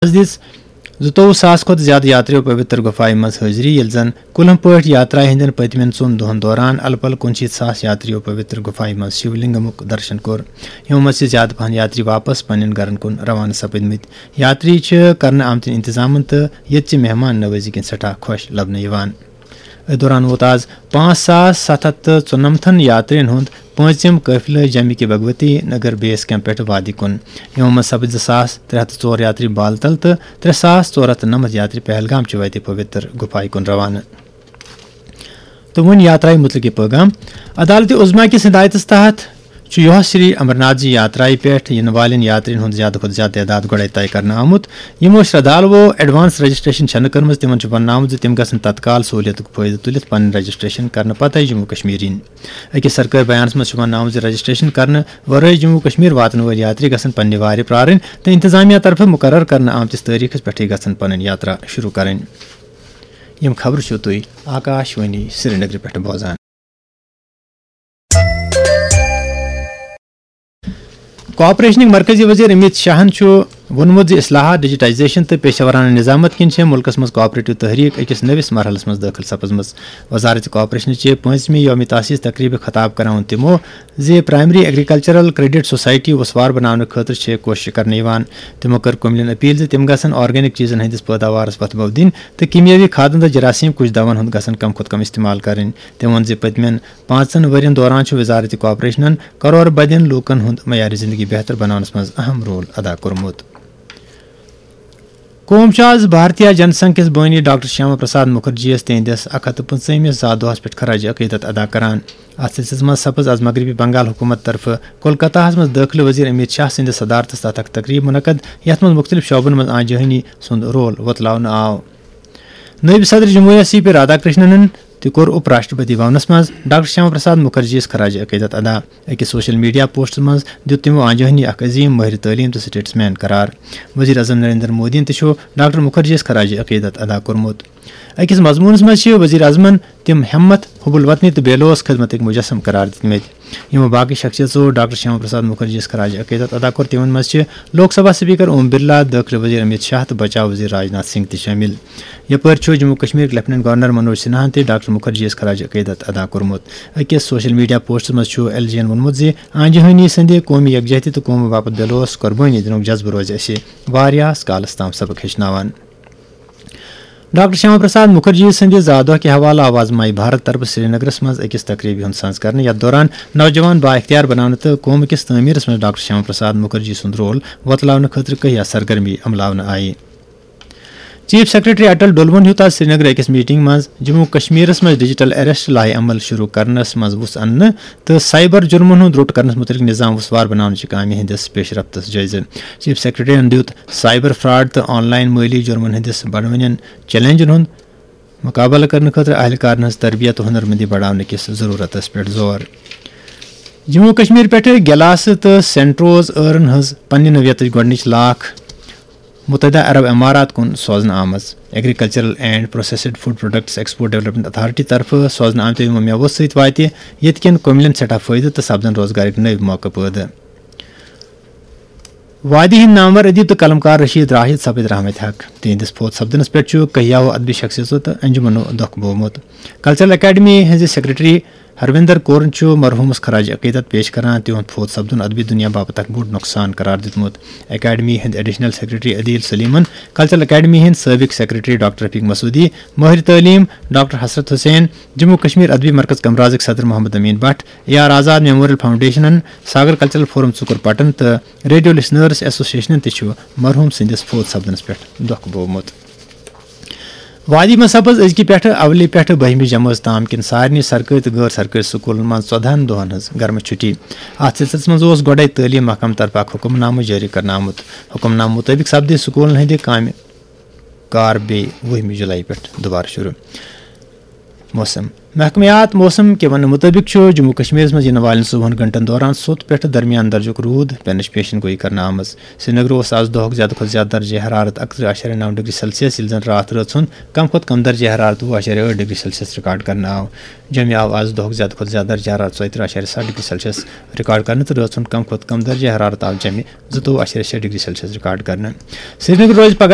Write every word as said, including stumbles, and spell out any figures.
آز دِژ زٕتووُہ ساس کھۄتہٕ زیادٕ یاتریو پویتر گُفایہِ منٛز حٲضری، ییٚلہِ زَن کُلہٕ پٲٹھۍ یاترایہِ ہٕنٛدٮ۪ن پٔتمٮ۪ن ژۄن دۄہَن دوران الہٕ پلہٕ کُنشیٖتھ ساس یاتریو پویتر گُفایہِ منٛز شِو لنگمُک درشن کوٚر۔ یِمو منٛز چھِ زیادٕ پہن یاتری واپس پننٮ۪ن گرن کُن روانہٕ سپٕدمٕتۍ۔ یاتری چھِ کرنہٕ آمتٮ۪ن انتظامن تہٕ ییٚتہِ چہِ مہمان نوٲزی کِنۍ سٮ۪ٹھاہ خۄش لبنہٕ یِوان۔ أتھۍ دوران ووت آز پانٛژھ ساس ستھ ہتھ تہٕ ژُنَمتھن یاترین ہُنٛد پٲنٛژِم قٲفلہٕ جمہِ کہِ بھگوتی نگر بیس کیمپ پٮ۪ٹھ وادی کُن۔ یِمو منٛز سپٕدۍ زٕ ساس ترٛےٚ ہتھ تہٕ ژور یاتری بالتل تہٕ ترٛےٚ ساس ژور ہتھ تہٕ نَمَتھ یاتری پہلگام چہِ وتہِ پویتر گُفایہِ کُن روانہٕ۔ تہٕ وۄنۍ یاترایہِ مُتعلق یہِ پٲغام۔ عدالتِ عظمیٰ کِس ہدایتس تحت چھُ یۄہس شری امرناتھ جی یاترایہِ پٮ۪ٹھ یِنہٕ والٮ۪ن یاترین ہُنٛد زیادٕ کھۄتہٕ زیادٕ تعداد گۄڈے طے کرنہٕ آمُت۔ یِمو شردھالوو ایڈوانس رجسٹریشن چھنہٕ کٔرمٕژ، تِمن چھُ وننہٕ آمُت زِ تِم گژھن تتکال سہوٗلیتُک فٲیدٕ تُلِتھ پنٕنۍ رجسٹریشن کرنہٕ پتہٕ جموں کشمیر یِنۍ۔ أکِس سرکٲرۍ بیانس منٛز چھُ وننہٕ آمُت زِ رجسٹریشن کرنہٕ ورٲے جموں کشمیر واتن وٲلۍ یاتری گژھن پننہِ وارِ پرارٕنۍ تہٕ انتظامیہ طرفہٕ مقرر کرنہٕ آمتِس تٲریخس پٮ۪ٹھٕے گژھن پنٕنۍ یاترا شروع کرٕنۍ۔ یِم خبرٕ چھِو تُہۍ آکاش وانی سرینگرٕ پٮ۪ٹھ بوزان۔ کوآپریشنٕکۍ مرکزی وزیر امیت شاہن چھُ ووٚنمُت زِ اصلاحات، ڈیجیٹائزیشن تہٕ پیشہ ورانہ نظامت کِنۍ چھےٚ مُلکس منٛز کوآپریٹو تحریک أکِس نٔوِس مرحلس منٛز دٲخل سپٕزمٕژ۔ وزارت کوآپریشن چہِ پٲنٛژمہِ یوم تاسیس تقریبہِ خطاب کران ووٚن تِمو زِ پرائمری ایگریکلچرل کریڈٹ سوسائٹی وسوار بناونہٕ خٲطرٕ چھےٚ کوشش کرنہٕ یِوان۔ تِمو کٔر کُملین اپیل زِ تِم گژھن آرگینک چیزن ہٕنٛدِس پٲداوارس وتھ بو دِنۍ تہٕ کیمیٲوی کھادن تہٕ جراثیم کش دون ہُنٛد گژھن کم کھۄتہٕ کم استعمال کرٕنۍ۔ تٔمۍ ووٚن زِ پٔتمٮ۪ن پانٛژن ؤرین دوران چھُ وزارت کوآپریشنن کرور بدین لوٗکن ہُنٛد معیار زندگی بہتر بناونس منٛز اہم رول ادا کوٚرمُت۔ قوم چھُ آز بھارتیہ جن سنگھ کِس بٲنی ڈاکٹر شیاما پرساد مُکھرجی یَس تِہنٛدِس اکھ ہتھ تہٕ پٕنٛژٕہمِس زا دۄہس پٮ۪ٹھ خراج عقیدت ادا کران۔ اتھ سلسلس منٛز سپٕز آز مغربی بنگال حکومت طرفہٕ کولکتہ ہس منٛز دٲخلہٕ وزیر امیت شاہ سٕنٛدِس صدارتس تحت اکھ تقریب منعقد، یتھ منٛز مُختٔلِف شعبن منٛز آنجہانی سُنٛد رول وۄتلاونہٕ آو۔ نٲیِب صدر جمہوریہ سی پی رادھا کرشننن تہِ کوٚر اُپ راشٹرپتی بھونس منٛز ڈاکٹر شیاما پرساد مُکھرجی یَس خراج عقیدت ادا۔ أکِس سوشل میڈیا پوسٹس منٛز دیُت تِمو آنجہانی اکھ عظیم مٲہِر تعلیٖم تہٕ سٹیٹس مین قرار۔ وزیر اعظم نریندر مودیَن تہِ چھُ ڈاکٹر مُکھرجی یَس خراج عقیدت ادا کوٚرمُت۔ أکِس مضموٗنس منٛز چھِ وزیر اعظمن تِم ہمت، حب الوطنی تہٕ بے لوث خدمتٕکۍ مجسم قرار دِتمٕتۍ۔ یِمو باقٕے شخصیژو ڈاکٹر شیاما پرساد مُکھرجی یَس خراج عقیدت ادا کوٚر، تِمن منٛز چھِ لوک سبھا سپیکر اوم برلا، دٲخلہٕ وزیر امیت شاہ تہٕ بچاو وزیر راجناتھ سنگھ تہِ شٲمِل۔ یپٲرۍ چھُ جموں کشمیرٕکۍ لیفٹیننٹ گورنر منوج سنہاہن تہِ ڈاکٹر مُکھرجی یَس خراج عقیدت ادا کوٚرمُت۔ أکِس سوشل میڈیا پوسٹس منٛز چھُ ایل جی یَن ووٚنمُت زِ آنجہانی سٕنٛدِ قومی یکجہتی تہٕ قومہٕ باپتھ بے لوث قربٲنی دِنُک جذبہٕ روزِ اَسہِ واریاہس کالس تام سبق ہیٚچھناوان۔ ڈاکٹر شیاما پرساد مُکھرجی سٕنٛدِ زا دۄہ کہِ حوالہٕ آو آز ماے بھارت طرفہٕ سرینگرس منٛز أکِس تقریبہِ ہُنٛد سنز کرنہٕ، یتھ دوران نوجوان با اختیار بناونہٕ تہٕ قومہٕ کِس تعمیرس منٛز ڈاکٹر شیاما پرساد مُکھرجی سُنٛد رول وۄتلاونہٕ خٲطرٕ کہیا سرگرمی عملاونہٕ آیہِ۔ چیف سیکرٹری اٹل ڈولون ہیوٚت آز سرینگرٕ أکِس میٹنگ منٛز جموں کشمیرس منٛز ڈیجیٹل اریسٹ لایحہ عمل شروع کرنس منٛز وُژھ اننہٕ تہٕ سائبر جرمن ہُنٛد روٚٹ کرنس مُتعلق نظام وسوار بناونٕچہِ کامہِ ہٕنٛدِس پیش رفتس جٲیزٕ۔ چیف سیکرٹریَن دیُت سائبر فراڈ تہٕ آن لائن مٲلی جرمن ہٕنٛدِس بڑوٕنٮ۪ن چیلنجن ہُنٛد مقابلہٕ کرنہٕ خٲطرٕ اہلکارن ہٕنٛز تربیت تہٕ ہُنرمندی بڑاونہٕ کِس ضروٗرتس پٮ۪ٹھ زور۔ جموں کشمیر پٮ۪ٹھٕ گلاسہٕ تہٕ سینٹروز ٲرن ہٕنٛز پننہِ نوعیتٕچ گۄڈٕنِچ لاکھ متحدہ عرب امارات کُن سوزنہٕ آمٕژ۔ Agricultural and processed food products export development authority طرفہٕ سوزنہٕ آمتیو یِمو مٮ۪وو سۭتۍ واتہِ ییٚتہِ کٮ۪ن کُملٮ۪ن سٮ۪ٹھاہ فٲیدٕ تہٕ سپدن روزگارٕکۍ نٔوۍ موقعہٕ پٲدٕ۔ وادی ہٕنٛدۍ نامور ادیب تہٕ قلمکار رشید راشد سپٕدۍ رحمتِ حق۔ تِہنٛدِس فوت سپدنس پٮ۪ٹھ چھُ کہیاہو ادبی شخصیژو تہٕ انجمنو دۄکھ بوومُت۔ کلچرل اکیڈمی ہٕنٛزِ سیکرٹری ہروندر کورن چھُ مرحومس خراج عقیدت پیش کران تِہُنٛد فوت سپدُن ادبی دنیا باپتھ اکھ بوٚڑ نۄقصان قرار دیُتمُت۔ اکیڈمی ہٕنٛدۍ ایڈیشنل سیکرٹری عدیل سلیمن، کلچرل اکیڈمی ہٕنٛدۍ سٲبق سیکرٹری ڈاکٹر رفیق مسعودی، مٲہِر تعلیٖم ڈاکٹر حسرت حسین، جموں کشمیر ادبی مرکز کمرازٕکۍ صدر Mohammad Amin Bhat, A R Azad memorial فاؤنڈیشنن، ساگر کلچرل فورم ژُکُر پٹن تہٕ ریڈیو لسنرز ایسوسیشنن تہِ چھُ مرحوم سٕنٛدِس فوت سپدنس پٮ۪ٹھ دۄکھ بوومُت۔ وادی منٛز سپٕز أزکہِ پٮ۪ٹھٕ اولہِ پٮ۪ٹھٕ بٔہمہِ جمٲژ تام کٮ۪ن سارنٕے سرکٲرۍ تہٕ غٲر سرکٲرۍ سکوٗلن منٛز ژۄدہن دۄہن ہٕنٛز گرمہٕ چھُٹی۔ اتھ سلسلس منٛز اوس گۄڈے تعلیٖم محکمہٕ طرفہٕ اکھ حکم نامہٕ جٲری کرنہٕ آمُت۔ حکم نامہٕ مُطٲبِق سپدِ سکوٗلن ہٕنٛدِ کامہِ کار بیٚیہِ وُہمہِ جُلایی پٮ۪ٹھ دُبارٕ شروٗع۔ موسم۔ محکمہٕ حیات موسم کہِ وننہٕ مُطٲبِق چھُ جموں کشمیرس منٛز یِنہٕ والٮ۪ن ژوٚوُہن گھنٹن دوران سوٚت پٮ۪ٹھٕ درمیان درجُک روٗد پینٕچ پیشن گویی کرنہٕ آمٕژ۔ سرینگرٕ اوس آز دۄہُک زیادٕ کھۄتہٕ زیادٕ درجہ حرارت اکترٕہ اعشاریہ نو ڈگری سیلسیس، ییٚلہِ زن راتھ رٲژ ہُنٛد کم کھۄتہٕ کم درجہ حرارت وُہ اعشاریہ ٲٹھ ڈگری سیلسیس ریکارڈ کرنہٕ آو۔ جوٚمہِ آو آز دۄہُک زیادٕ کھۄتہٕ زیادٕ درجہ حرارت ژۄیہِ ترٕہ اعشاریہ ستھ ڈگری سیلسیس ریکارڈ کرنہٕ تہٕ رٲژ ہُنٛد کم کھۄتہٕ کم درجہ حرارت آو جوٚمہِ زٕتووُہ اعشاریہ شےٚ ڈگری سیلسیس ریکارڈ کرنہٕ۔ سرینگر روزِ پگہہ